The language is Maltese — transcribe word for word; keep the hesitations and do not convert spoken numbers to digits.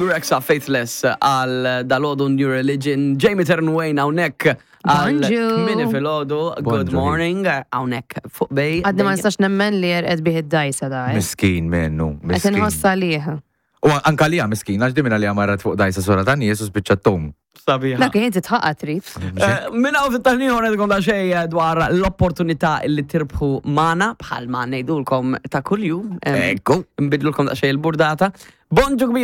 Bebe Rexha, Faithless għal dalgħodu New Religion, Jamie Ternwayne hawnhekk għal Bonġu. Kmieni filgħodu, good Bonġu. morning, hawnhekk fuq Bay. Għadni ma nistax nemmen li għerqet bih id-dajsa da. eh. Miskin minnu, Qed miskin. inħossa liħ. U anka lija miskin, għax dimina li marret fuq dajsa sora ta' nies u spiċċat tom. Sabiħa. Dak inti tħaqqa trid. Eh, Minna u fit-taħniħor għedkom da xej dwar l-opportunità li tirbħu magħna bħal ma ngħidulkom ta' kuljum. Ekku. Nbidlulkom da xej il-burdata. Bonġu kbir.